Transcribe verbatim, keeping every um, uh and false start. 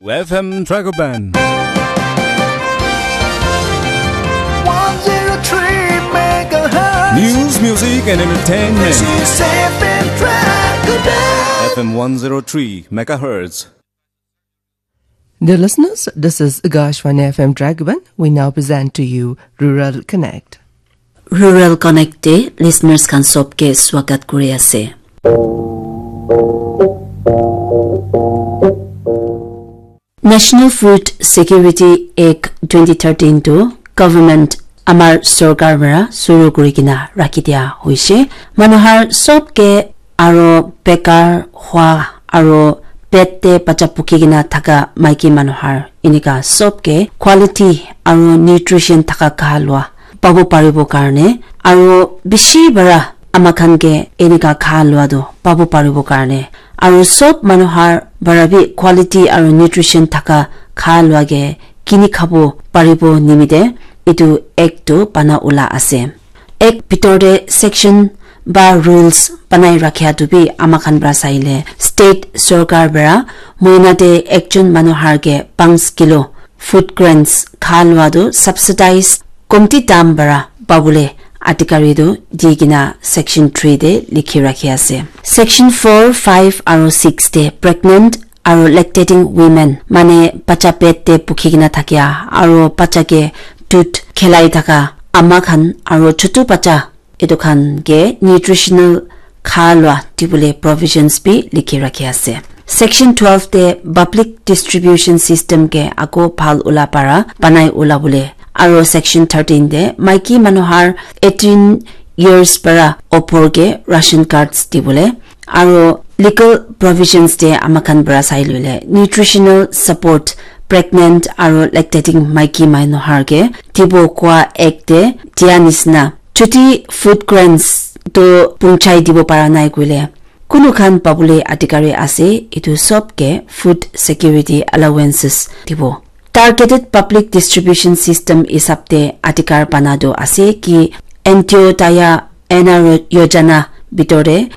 F M Dragoban. one zero three megahertz. News, music, and entertainment. This is F M Dragoban. F M one zero three megahertz. Dear listeners, this is Akashvani F M Dragoban. We now present to you Rural Connect. Rural Connect te listeners khan sob ke swagat kuri ase. National Food Security Act twenty thirteen tu government amar sorkar para suru kuri kena rakhi dia hoise. Manu har sob ke aro bekar hua aro pet te bacha pukhi kena thaka maiki manu har enika sob ke quality aro nutrition thaka kha lua pabo paribo karne aro bishi para ama khan ke enika kha lua tu pabo paribo karne aro sob manu har para bi quality aro nutrition thaka kha lua ke kini khabo paribo nimite etu act tu bana ula ase. Act bitor te section ba rules banai rakhia tu bi ama khan para saile state sorkar para moina te ekjon manu har ke panch kilo food grains kha lua tu subsidize komti dam para pabole adhikari tu di kena section three te likhi rakhi ase. Section four, five aro six te pregnant aro lactating women mane bacha pet te pukhi kena thakia aro bacha ke dut khelai thaka ama khan aro chutu bacha etu khan ke nutritional kha lua dibole provisions bi likhi rakhi ase. Section twelve te public distribution system ke ako bhal ula para banai ula bole aro section thirteen te maiki manu har eighteen years para opor ke ration cards dibole aro legal provisions te ama khan para sai lule nutritional support pregnant aro lactating maiki manu har ke dibo kwa act te dia nisna chuti food grains to punchai dibo para nai koile kunu khan pabole adhikari ase etu sob ke food security allowances dibo. Targeted public distribution system hisab te adhikar bana tu ase ki Antyodaya Anna Yojana bitor te